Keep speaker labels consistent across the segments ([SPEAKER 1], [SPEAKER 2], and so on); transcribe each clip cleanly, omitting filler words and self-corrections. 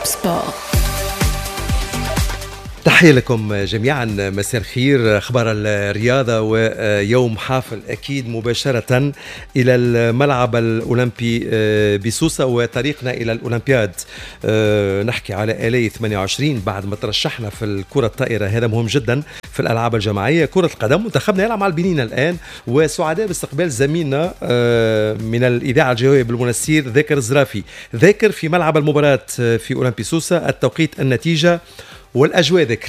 [SPEAKER 1] Top Sport.
[SPEAKER 2] تحية لكم جميعا، مساء الخير. أخبار الرياضة ويوم حافل أكيد مباشرة إلى الملعب الأولمبي بسوسة وطريقنا إلى الأولمبياد. نحكي على آلي 28 بعد ما ترشحنا في الكرة الطائرة، هذا مهم جدا في الألعاب الجماعية. كرة القدم منتخبنا يلعب مع البنين الآن، وسعداء باستقبال زميلنا من الإذاعة الجوية بالمنستير ذاكر الزرافي. ذاكر في ملعب المباراة في أولمبي سوسة، التوقيت، النتيجة والاجواء. ذكر.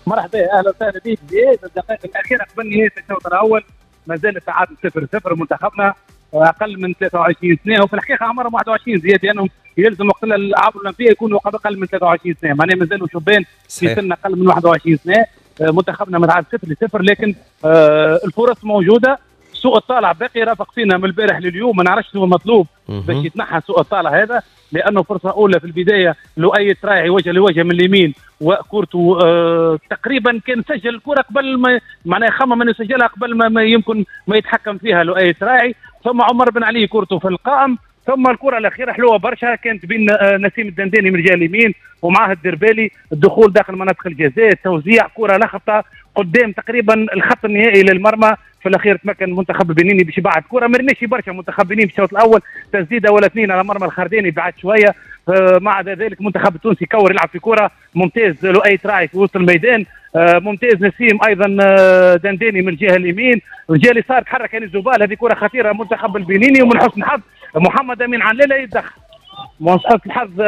[SPEAKER 3] مرحبا، اهلا وسهلا بك زياد. الدقائق الاخيرة قبل نهاية الشوط الاول ما زال التعادل 0-0. منتخبنا اقل من 23 سنة، وفي الحقيقة عمرهم 21 زياد، لانهم يلزم وقت الالعاب الاولمبية يكونوا اقل من 23 سنة، معناها مازالوا شبان في سن اقل من 21 سنة. منتخبنا متعادل 0-0، لكن الفرص موجودة. سوء الطالع باقي رافق فينا من البارح لليوم، ما نعرفش شنو المطلوب باش يتنحى سوء الطالع هذا، لانه فرصة اولى في البداية لؤي تراعي وجه لوجه من اليمين وكورته تقريبا كان سجل الكره قبل ما معناها خمم انه يسجلها قبل ما يمكن ما يتحكم فيها لؤي تراعي. ثم عمر بن علي كورته في القائم. ثم الكره الاخيرة حلوة برشا كانت بين نسيم الدنداني من الجهة اليمين ومعاه الدربالي، الدخول داخل مناطق الجزاء، توزيع كره لخبطة قدام تقريبا الخط النهائي للمرمى. في الاخير تمكن المنتخب البنيني باش يبعد كره، ما رناش برشا منتخب بنين في الشوط الاول، تسديده ولا اثنين على مرمى الخرداني بعد شوية. مع ذلك المنتخب التونسي كور يلعب في كره ممتاز، لؤي تراعي في وسط الميدان، ممتاز نسيم ايضا دنداني من الجهة اليمين، الجهة اليسار تحرك انيس زبال، هذه كره خطيرة منتخب البنيني. ومن حسن الحظ محمد امين علاله يتدخل، من حسن الحظ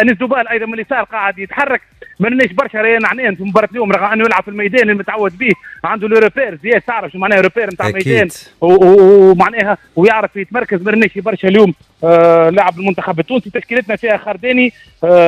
[SPEAKER 3] انيس دوبال ايضا من اليسار قاعد يتحرك. ما رناش برشا ريان عنان في مباراة اليوم، رغم انه يلعب في الميدان المتعود به، عنده les repères زياد، تعرف شو معناها repères نتاع الميدان ومعناها ويعرف يتمركز. ما رناش برشا اليوم لاعب المنتخب التونسي. تشكيلتنا فيها خرداني،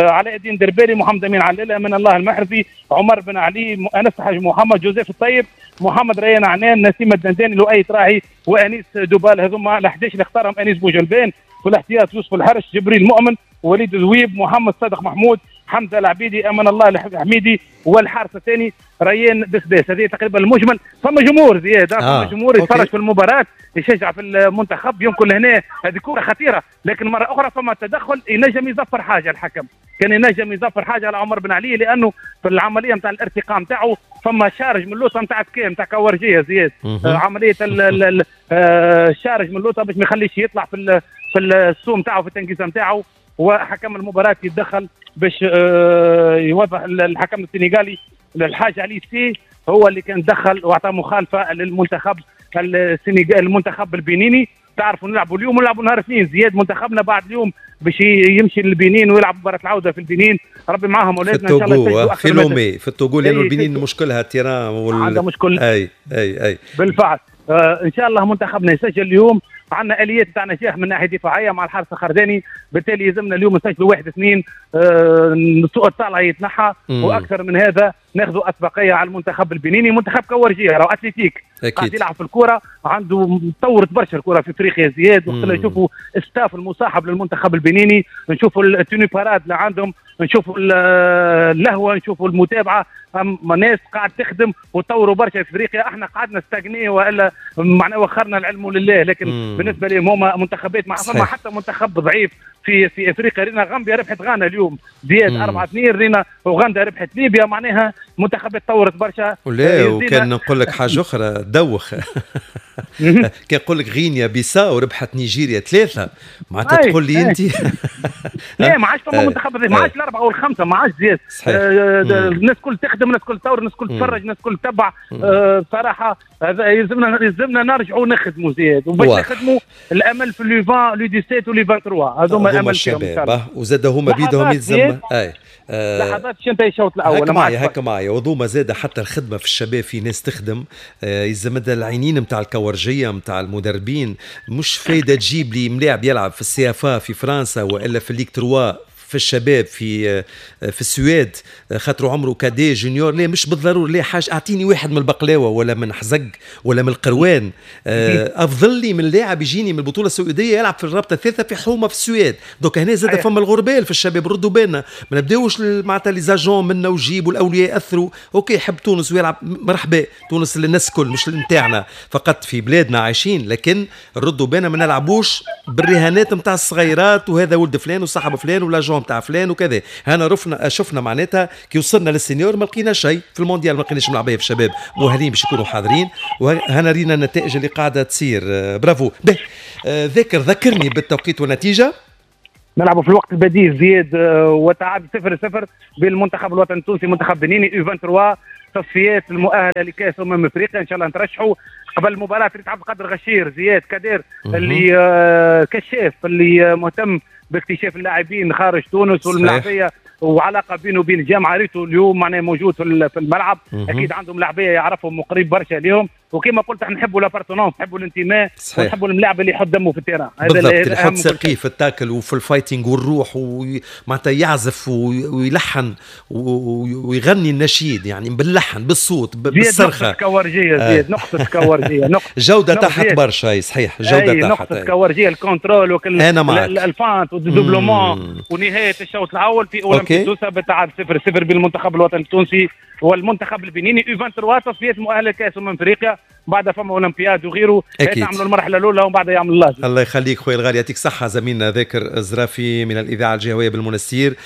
[SPEAKER 3] علاء الدين دربالي، محمد امين علاله، من الله المحرزي، عمر بن علي، انس حاج محمد، جوزيف الطيب، محمد ريان عنان، نسيم الدنداني، لؤي تراعي، وانيس دوبال. هذوما ال 11 اللي اختارهم انيس بوجلبان. في الاحتياط يوسف الحرش، جبريل مؤمن، وليد ذويب، محمد صادق محمود، حمزة العبيدي، امان الله الحميدي، والحارس الثاني ريان بسباس. هذه تقريبا المجمل. فما جمهور زياد، فما جمهور يتفرج في المباراة، يشجع في المنتخب. يمكن هنا هذه كره خطيرة، لكن مرة اخرى فما تدخل ينجم يزفر حاجة، الحكم كان ينجم يزفر حاجة على عمر بن علي، لانه في العملية نتاع الارتقاء نتاعو فما charge من اللوطه نتاع كام نتاع كورجيه زياد، عملية ال charge من اللوطه باش ما يخليش يطلع في السوم نتاعو في التنقيزه نتاعو. وحكم المباراة يتدخل باش يوضح الحكم السنغالي الحاج علي سي هو اللي كان دخل واعطى مخالفة للمنتخب السنغالي، المنتخب البنيني. تعرفوا نلعبوا اليوم ونلعبوا نهار اثنين زياد، منتخبنا بعد اليوم باش يمشي للبنين ويلعب مباراة العودة في البنين. ربي معاهم اولادنا ان شاء الله.
[SPEAKER 2] في لومي في التوغو، لانه البنين مشكلها ال terrain
[SPEAKER 3] عندها مشكل.
[SPEAKER 2] اي اي اي
[SPEAKER 3] بالفعل. ان شاء الله منتخبنا يسجل اليوم. عندنا اليات تاع نجاح من ناحية دفاعية مع الحارس الخرداني، بالتالي يلزمنا اليوم نسجلوا 1-2، سوء الطالع يتنحى، واكثر من هذا ناخذوا اسبقيه على المنتخب البنيني. منتخب كورجيه راهو athlétique قاعد يلعب في الكره، عنده طورت برشا الكره في افريقيا زياد. وقت اللي نشوفوا staff المصاحب للمنتخب البنيني، نشوفوا ال tenue parade اللي عندهم، نشوفوا اللهوه، نشوفوا المتابعة، ناس قاعد تخدم وطوروا برشا في افريقيا. احنا قعدنا stagné والا معناه وخرنا العلم لله، لكن بالنسبة لهم هما منتخبات مع فما حتى منتخب ضعيف في افريقيا. رينا غامبيا ربحت غانا اليوم زياد 4-2، رينا اوغندا ربحت ليبيا، معناها منتخبات طورت برشا.
[SPEAKER 2] ولا وكان نقول لك حاجة اخرى دوخ كان نقول لك غينيا بيساو ربحت نيجيريا 3، معناتها تقول لي انت
[SPEAKER 3] لا ما عادش فما منتخب، ما عادش الاربعة والخمسة، ما عادش زياد. الناس الكل تخدم، الناس الكل تطور، الناس الكل تتفرج، الناس الكل تتبع. بصراحة هذا يلزمنا نرجعوا نخدموا زياد، وباش نخدموا الامل في les 20 les 17 و les 23، هذوما امل
[SPEAKER 2] الشباب. وزاد هما بيدهم يلزم اي
[SPEAKER 3] لحظات باش ينتهي الشوط الاول.
[SPEAKER 2] هكا معايا هكا معايا. وذوما زاد حتى الخدمة في الشباب، في ناس تخدم، يلزم العينين نتاع الكورجيه نتاع المدربين. مش فايده تجيب لي ملاعب يلعب في ال CFA في فرنسا والا في Ligue 3 في الشباب في السويد، خاطر عمره cadet junior. لا مش بالضرورة، لا حاجة اعطيني واحد من البقلاوه ولا من حزق ولا من القروان، افضل لي من لاعب يجيني من البطولة السعودية يلعب في الرابطة الثالثة في حومه في السويد. donc هنا زاد فما الغربال في الشباب، ردوا بالنا ما نبداوش معناتها les agents منا وجيب والاولياء ياثروا. OK يحب تونس ويلعب مرحبا، تونس للناس الكل مش نتاعنا فقط، في بلادنا عايشين، لكن ردوا بالنا ما نلعبوش بالرهانات نتاع الصغيرات وهذا ولد فلان وصاحب فلان و l'agent. نتاع فلان وكذا. هنا رفنا شفنا معناتها كي وصلنا لل seniors ما لقينا شيء في المونديال، ما لقيناش ملاعبيه في الشباب مؤهلين باش يكونوا حاضرين، وهنا رينا النتائج اللي قاعدة تصير. برافو. به ذكر ذكرني بالتوقيت والنتيجة.
[SPEAKER 3] نلعبوا في الوقت البديل زياد وتعادل 0-0 بالمنتخب الوطني التونسي منتخب بنيني U 23 تصفيات المؤهله لكاس افريقيا ان شاء الله نترشحوا. قبل المباراة ريت عبد القادر غشير زياد كدير اللي كشاف اللي مهتم باكتشاف اللاعبين خارج تونس والملاعبيه وعلاقة بينه وبين الجامعة، ريتو اليوم معناه موجود في الملعب. اكيد عندهم لاعبيه يعرفهم وقريب برشا ليهم، وكما قلت احنا نحبوا l'appartenance، نحبوا الانتماء، ونحبوا الملاعب اللي يحط دمه في ال terrain.
[SPEAKER 2] هذا بالضبط، اللي يحط ساقيه في ال tacle وفي ال fighting والروح، ومعناتها يعزف ويلحن ويغني النشيد يعني باللحن بالصوت بالصرخه.
[SPEAKER 3] نقطة كورجيه زياد، نقطة كورجيه، نقطة
[SPEAKER 2] جوده تحت برشا. صحيح جوده تحت،
[SPEAKER 3] نقطة كورجيه، ال contrôle وكل
[SPEAKER 2] انا معك
[SPEAKER 3] ال feinte وال dédoublement. ونهاية الشوط الاول في اولمبي سوسة بالتعادل 0-0 بالمنتخب الوطني التونسي والمنتخب البنيني U 23 تصفيات مؤهلة لكاس افريقيا، بعد فما اولمبياد وغيره. يعملوا المرحلة الاولى ومن بعد يعمل الله.
[SPEAKER 2] الله يخليك خويا الغالي، يعطيك صحة. زميلنا ذاكر الزرافي من الاذاعة الجهوية بالمنستير،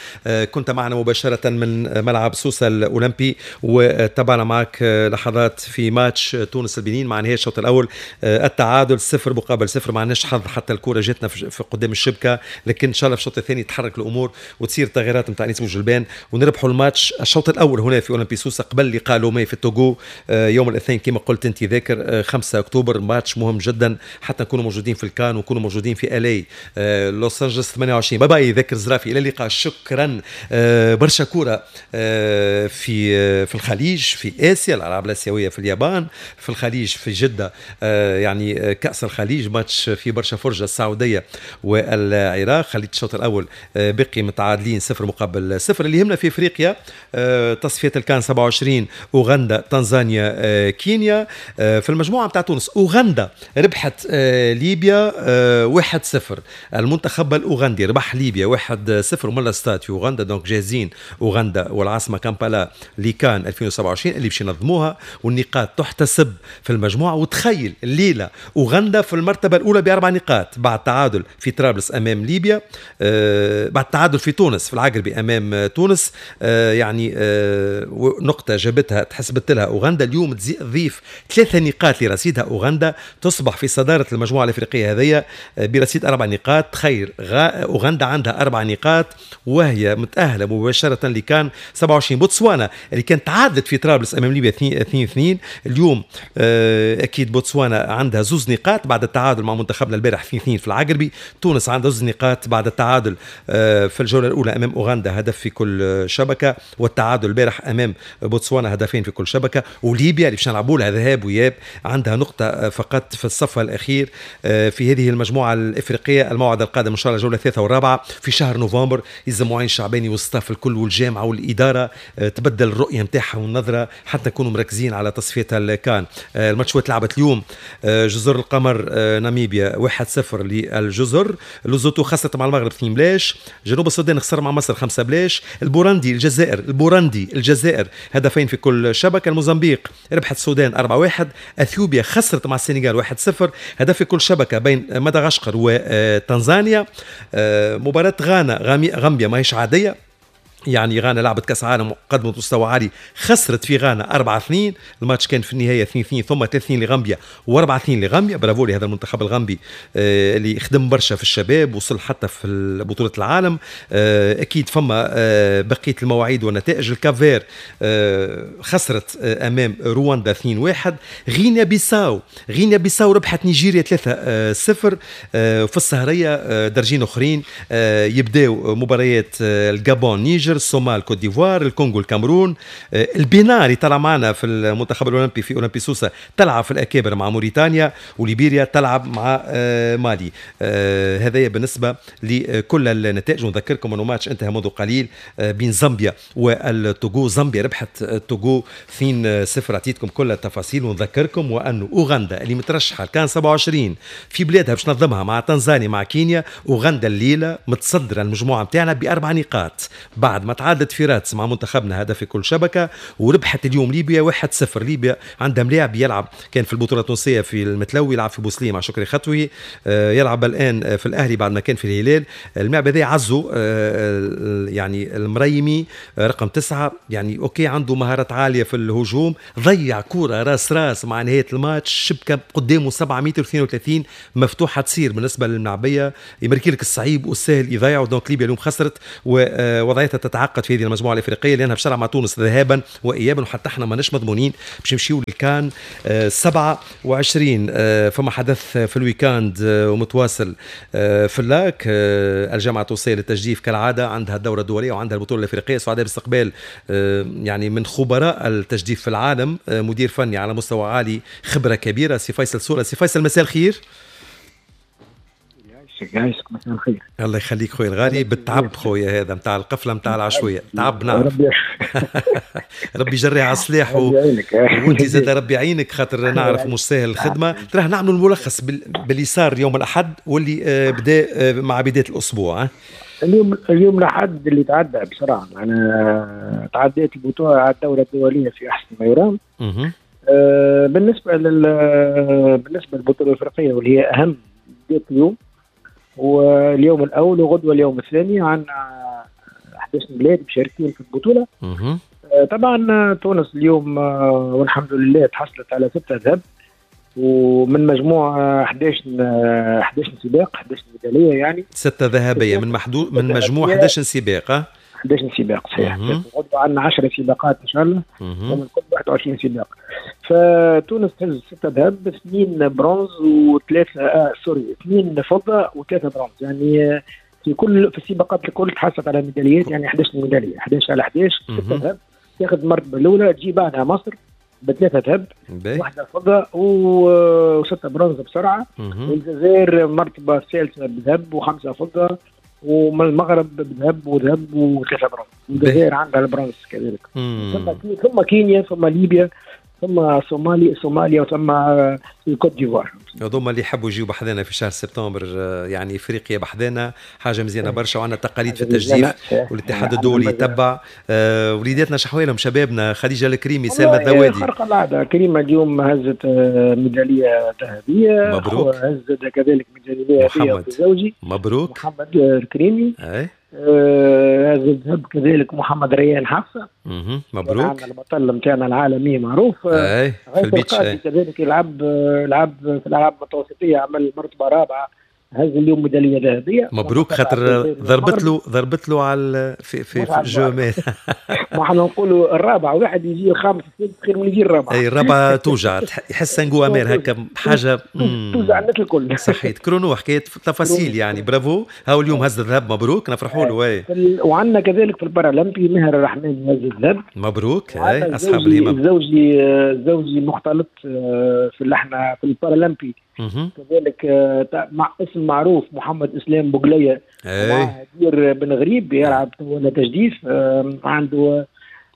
[SPEAKER 2] كنت معنا مباشرة من ملعب سوسة الاولمبي، وتابعنا معك لحظات في ماتش تونس البنين مع نهاية الشوط الاول التعادل 0-0. ما عندناش حظ حتى الكره جاتنا في قدام الشبكة، لكن ان شاء الله في الشوط الثاني تحرك الامور وتصير تغييرات نتاع انيس بوجلبان ونربحوا الماتش الشوط الاول هنا في اولمبي سوسة قبل لقاء لومي في التوغو يوم الاثنين كما قلت انت ذاكر 5 اكتوبر. ماتش مهم جدا حتى نكونوا موجودين في الكان ونكونوا موجودين في LA لوس انجلوس 28. bye bye ذاكر زرافي، الى اللقاء. شكرا. برشا كورة في الخليج، في اسيا، الالعاب الاسيوية في اليابان، في الخليج في جده، يعني كاس الخليج ماتش في برشا فرجه، السعودية والعراق. خليت الشوط الاول بقي متعادلين 0-0. اللي يهمنا في افريقيا تصفية الكان 27 اوغندا تنزانيا كينيا. في المجموعة نتاع تونس اوغندا ربحت ليبيا 1-0. المنتخب الاوغندي ربح ليبيا 1-0 وملا ستاد في اوغندا، donc جاهزين اوغندا والعاصمه كامبالا لكان 2027 اللي باش ينظموها، والنقاط تحتسب في المجموعة. وتخيل الليلة اوغندا في المرتبة الاولى ب4 نقاط بعد تعادل في طرابلس امام ليبيا، بعد تعادل في تونس في العقربي امام تونس، يعني نقطة جابتها تحسبت لها اوغندا. اليوم تضيف 3 نقاط لرصيدها اوغندا، تصبح في صدارة المجموعة الافريقية هذيا برصيد 4 نقاط. تخيل اوغندا عندها 4 نقاط وهي متاهله مباشرة لكان 27. بوتسوانا اللي كانت تعادلت في طرابلس امام ليبيا 2-2، اليوم اكيد بوتسوانا عندها 2 نقاط بعد التعادل مع منتخبنا البارح 2-2 في العقربي. تونس عندها 2 نقاط بعد التعادل في الجولة الاولى امام اوغندا هدف في كل شبكة، والتعادل البارح امام بوتسوانا هدفين في كل شبكة. وليبيا اللي باش نلعبوا لها ذهاب وإياب عندها نقطة فقط في الصف الأخير في هذه المجموعة الإفريقية. الموعد القادم إن شاء الله الجولة الثالثة والرابعة في شهر نوفمبر. يلزم معين الشعباني وال staff الكل والجامعة والإدارة تبدل الرؤية نتاعها والنظرة حتى نكونوا مركزين على تصفية الكان. الماتشات لعبت اليوم جزر القمر ناميبيا 1-0 للجزر، لوزوتو خسرت مع المغرب 2-0، جنوب السودان خسر مع مصر 5-0، البورندي الجزائر، البورندي الجزائر هدفين في كل شبكة، الموزمبيق ربحت السودان 4-1، اثيوبيا خسرت مع السنغال 1-0، هدف في كل شبكة بين مدغشقر وتنزانيا. مباراة غانا غامبيا ماهيش عادية، يعني غانا لعبت كاس عالم وقدمت مستوى عالي، خسرت في غانا 4-2، الماتش كان في النهاية 2-2 ثم 3-2 لغامبيا و4-2 لغامبيا. برافو لهذا المنتخب الغامبي اللي خدم برشا في الشباب، وصل حتى في بطوله العالم. اكيد فما بقية المواعيد والنتائج. الكافير خسرت امام رواندا 2-1. غينيا بيساو ربحت نيجيريا 3-0. في السهريه درجين اخرين يبداو مباريات الجابون نيجر، الصومال كوت ديفوار، الكونغو الكاميرون. البنين اللي طلع معنا في المنتخب الاولمبي في اولمبي سوسة تلعب في الاكابر مع موريتانيا، وليبيريا تلعب مع مالي. هذايا بالنسبة لكل النتائج. ونذكركم انه ماتش انتهى منذ قليل بين زامبيا والتوغو، زامبيا ربحت التوغو 2-0. اعطيتكم كل التفاصيل. ونذكركم وانه اوغندا اللي مترشحه كان 27 في بلادها باش تنظمها مع تنزانيا مع كينيا، اوغندا الليلة متصدره المجموعة نتاعنا ب4 نقاط بعد ما تعادلت في رادس مع منتخبنا هدف في كل شبكة، وربحت اليوم ليبيا 1-0. ليبيا عندها ملاعب يلعب، كان في البطولة التونسية في المتلوي، يلعب في بوسليم مع شكري خطوي، يلعب الان في الاهلي بعد ما كان في الهلال. الملاعب هذا عزو يعني المريمي رقم 9، يعني OK عنده مهارات عالية في الهجوم، ضيع كورة راس راس مع نهاية الماتش، شبكة قدامه 7 متر 32 مفتوحة تصير بالنسبة للملعبيه، يمركي لك الصعيب والسهل يضيعوا. donc ليبيا اليوم خسرت ووضعيتها تتعقد في هذه المجموعة الافريقية لانها باش تلعب مع تونس ذهابا وايابا، وحتى احنا ماناش مضمونين باش نمشيو للكان 27. فما حدث في ال week-end ومتواصل في ال lac، الجامعة التونسية للتجديف كالعادة عندها الدورة الدولية وعندها البطولة الافريقية. سعداء باستقبال يعني من خبراء التجديف في العالم، مدير فني على مستوى عالي، خبره كبيرة، سي فيصل سورة. سي فيصل مساء الخير.
[SPEAKER 1] يعيشك، مساء الخير.
[SPEAKER 2] الله يخليك خويا الغالي، بالتعب خويا هذا نتاع القفله نتاع العشويه، تعب نعرف. ربي يجري على السلاح وانت زاد ربي يعينك، خاطر نعرف مش ساهل الخدمة. تراه نعملوا الملخص باللي صار يوم الاحد واللي بدا مع بداية الاسبوع.
[SPEAKER 1] اليوم الاحد اللي تعدى بصراحة، انا تعديت البطولة على الدورة الدولية في احسن ما يرام. بالنسبة للبطولة الافريقية واللي هي اهم بداية اليوم، واليوم الاول وغدوه اليوم الثاني، عندنا 11 بلاد مشاركين في البطولة. طبعا تونس اليوم والحمد لله تحصلت على 6 ذهب، ومن مجموع 11 سباق، 11 ميدالية، يعني
[SPEAKER 2] 6 ذهبية من محدود من مجموع 11 سباق.
[SPEAKER 1] 11 سباق صحيح. غدوه عندنا 10 سباقات ان شاء الله، ومن كل 21 سباق. فتونس تهز 6 ذهب، 2 برونز و3 2 فضة و3 برونز، يعني في كل في السباقات الكل تحصلت على ميداليات، يعني 11 ميدالية، 11 على 11، 6 ذهب. تاخذ المرتبة الاولى، تجي بعدها مصر بثلاثة ذهب، واحدة فضة و6 برونز بسرعة، والجزائر مرتبه الثالثة بذهب و5 فضة، ومن المغرب بذهب وذهب و3 برونز. الجزائر عندها البرونز كذلك. ثم كينيا، ثم ليبيا، ثم صوماليا، وثم الكوت ديفوار.
[SPEAKER 2] هذوما اللي يحبوا يجيو بحذانا في شهر سبتمبر، يعني افريقيا بحذانا حاجة مزيانه برشا، وعندنا تقاليد في التجديف والاتحاد الدولي يتبع. وليداتنا شحوالهم شبابنا، خديجة الكريمي، سلمى الذوادي،
[SPEAKER 1] خرق العادة. كريمة اليوم هزت ميدالية ذهبية،
[SPEAKER 2] مبروك.
[SPEAKER 1] هزت كذلك ميدالية ذهبية زوجي،
[SPEAKER 2] مبروك،
[SPEAKER 1] محمد الكريمي. هذا الذهب كذلك محمد ريان حفصة،
[SPEAKER 2] مبروك،
[SPEAKER 1] البطل نتاعنا العالمي معروف.
[SPEAKER 2] في ال beach
[SPEAKER 1] كذلك يلعب في الالعاب المتوسطيه، عمل مرتبه رابعه، هز اليوم ميدالية ذهبية،
[SPEAKER 2] مبروك. خاطر ضربت له على في الجومات.
[SPEAKER 1] ما احنا نقولوا الرابع، واحد يجي الخامس السادس خير من يجي الرابع.
[SPEAKER 2] اي الرابعة توجع، يحس un goût amer هكا حاجة
[SPEAKER 1] توجع الناس الكل.
[SPEAKER 2] صحيت chrono، حكاية تفاصيل يعني. برافو، هاو اليوم هز الذهب، مبروك، نفرحوا له.
[SPEAKER 1] وعندنا كذلك في البارالمبي ماهر الرحمن هز الذهب،
[SPEAKER 2] مبروك. اي اصحاب الهمم.
[SPEAKER 1] زوجي مختلط في اللحنه في البارالمبي كذلك، مع اسم معروف محمد اسلام بوغليه، مع هدير بن غريب يلعب ولا تجديف، عنده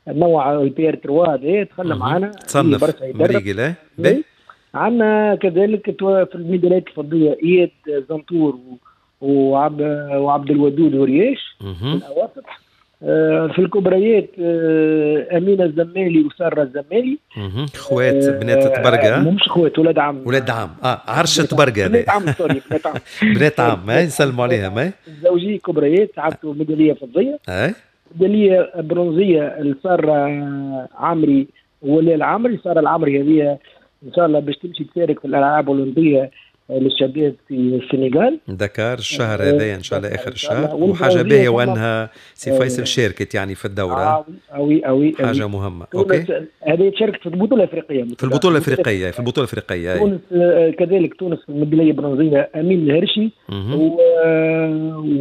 [SPEAKER 1] نوع ال PR 3 هذا، تخلى معنا
[SPEAKER 2] تصنف مريقل.
[SPEAKER 1] عندنا كذلك في الميداليات الفضيه اياد زنطور وعبد الودود ورياش في الاواسط. في الكبريات أمينة الزمالي وسارة الزمالي،
[SPEAKER 2] خوات بنات تبرقة،
[SPEAKER 1] مش خوات، ولاد عم،
[SPEAKER 2] ولاد عم، عرشة تبرقة،
[SPEAKER 1] بنات عم، sorry، بنات عم،
[SPEAKER 2] بنات عم، نسلموا عليها. ما
[SPEAKER 1] الزوجي كبريات عبتوا ميدالية فضية، ميدالية برونزية لسارة عمري ولا العمري. سارة العمري هذه إن شاء الله باش تمشي تشارك في الألعاب الأولمبية للشباب في السنغال،
[SPEAKER 2] دكار، الشهر هذا ان شاء الله اخر الشهر. وحاجه باهيه وانها سي فيصل شاركت يعني في الدورة،
[SPEAKER 1] أوي
[SPEAKER 2] حاجة مهمة. OK،
[SPEAKER 1] هذه شاركت في البطولة الافريقية،
[SPEAKER 2] في البطولة الافريقية، في البطولة الافريقية.
[SPEAKER 1] تونس كذلك، تونس في الميداليه البرونزيه امين الهرشي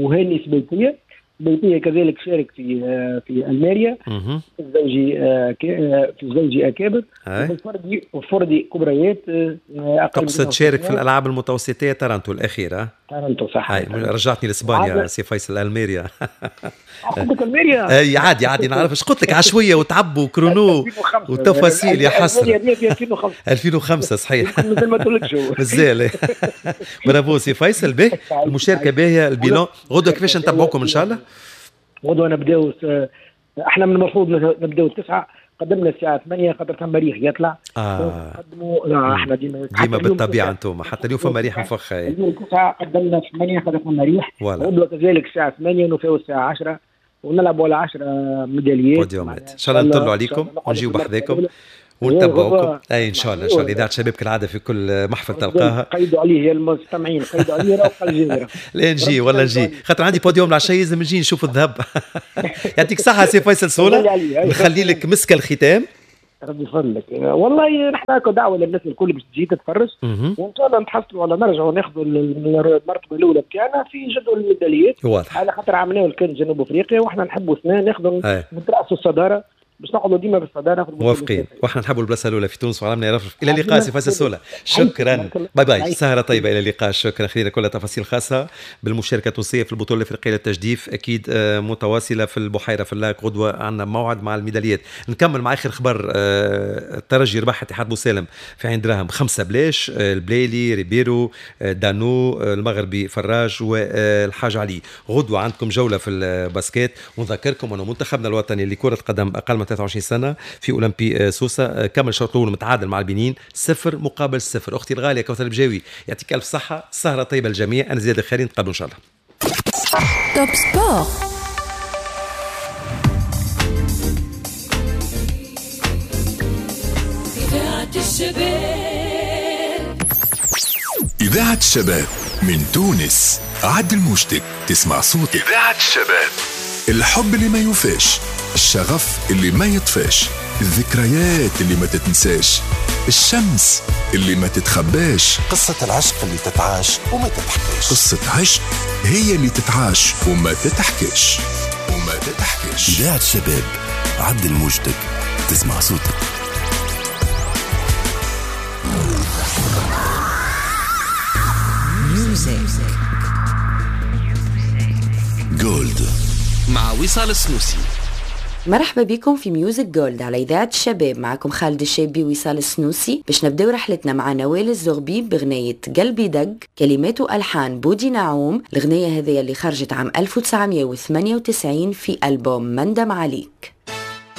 [SPEAKER 1] وهاني سبيتيه، بيتية كذلك شارك في المانيا، الزوجي في الزوجي اكابر، الفردي وفردي كبريات.
[SPEAKER 2] تقصد شارك في الالعاب المتوسطيه تارانتو الاخيرة.
[SPEAKER 1] تارانتو صح.
[SPEAKER 2] رجعتني لاسبانيا سي فيصل، الميريا.
[SPEAKER 1] قلت لك الميريا.
[SPEAKER 2] اي عادي عادي نعرف اش قلت لك، عشويه وتعب و chrono وتفاصيل يا حسرة. 2005 صحيح.
[SPEAKER 1] مازال ما تقولكش
[SPEAKER 2] مازال. برافو سي فيصل، به المشاركة باهيه، ال bilan غدوه كيفاش نتبعوكم ان شاء الله؟
[SPEAKER 1] غدوه نبداو، احنا من المفروض نبداو 9، قدمنا الساعة 8 خاطر ثم ريح يطلع. قدموا احنا
[SPEAKER 2] ديما بالطبيعة انتم حتى اليوم فما ريح مفخة.
[SPEAKER 1] اليوم 9 قدمنا 8 خاطر ثم ريح. غدوه كذلك الساعة 8 ونفاو الساعة 10 ونلعبوا على 10 ميداليات.
[SPEAKER 2] بوديومات ان شاء الله نطلعوا عليكم ونجيو بحذاكم ونتبعوكم. اي ان شاء الله ان شاء الله. اذاعة شباب كالعادة في كل محفل تلقاها.
[SPEAKER 1] قيدوا عليه يا المستمعين، قيدوا عليه راه الجزيرة.
[SPEAKER 2] لا نجي والله نجي، خاطر عندي بوديوم العشاء لازم نجي نشوف الذهب. يعطيك الصحة سي فيصل صوله، نخلي لك مسك الختام.
[SPEAKER 1] ربي يفضلك. والله نحن دعوه للناس الكل باش تجي تتفرج، وان شاء الله نتحصلوا ولا نرجعوا ناخذوا المرتبة الاولى بتاعنا في جدول الميداليات.
[SPEAKER 2] واضح.
[SPEAKER 1] على خاطر عملناه كان جنوب افريقيا، واحنا نحبوا سنة ناخذوا نترأسوا الصدارة باش نقعدوا ديما بالصداره.
[SPEAKER 2] موافقين، واحنا نحبوا البلاصة الاولى في تونس وعلمنا يرفرف. الى اللقاء سي فيصل سوله، شكرا، bye bye، سهره طيبة، الى اللقاء. شكرا. خلينا كل تفاصيل خاصة بالمشاركة التونسية في البطولة الافريقية للتجديف، اكيد متواصلة في البحيرة في ال lac. غدوه عندنا موعد مع الميداليات. نكمل مع اخر خبر، الترجي ربح اتحاد بوسالم في عين دراهم 5-0، البليلي ريبيرو دانو المغربي فراج والحاج علي. غدوه عندكم جولة في ال basket، ونذكركم انه منتخبنا الوطني لكرة قدم اقل من 23 سنة في اولمبي سوسة كمل الشوط الاول متعادل مع البنين 0-0. اختي الغالية كوثر البجاوي يعطيك الف صحة، سهره طيبة للجميع. انا زياد الخيري، نتقابلوا ان شاء الله.
[SPEAKER 4] Top Sport.
[SPEAKER 5] إذاعة الشباب،
[SPEAKER 6] إذاعة الشباب من تونس. عدل موجتك تسمع صوتك. إذاعة الشباب، الحب اللي ما يوفاش، الشغف اللي ما يطفاش، الذكريات اللي ما تتنساش، الشمس اللي ما تتخباش،
[SPEAKER 7] قصة العشق اللي تتعاش وما تتحكاش.
[SPEAKER 6] قصة عشق هي اللي تتعاش وما تتحكاش وما تتحكاش.
[SPEAKER 7] إذاعة الشباب، عدل موجتك تسمع صوتك.
[SPEAKER 4] Music
[SPEAKER 7] Gold
[SPEAKER 8] مع وصال السنوسي.
[SPEAKER 9] مرحبا بكم في Music Gold على إذاعة الشباب، معكم خالد الشابي وصال السنوسي باش نبداو رحلتنا مع نوال الزغبي بغناية قلبي دق، كلمات وألحان بودي نعوم. الغناية هذه اللي خرجت عام 1998 في ألبوم مندم عليك.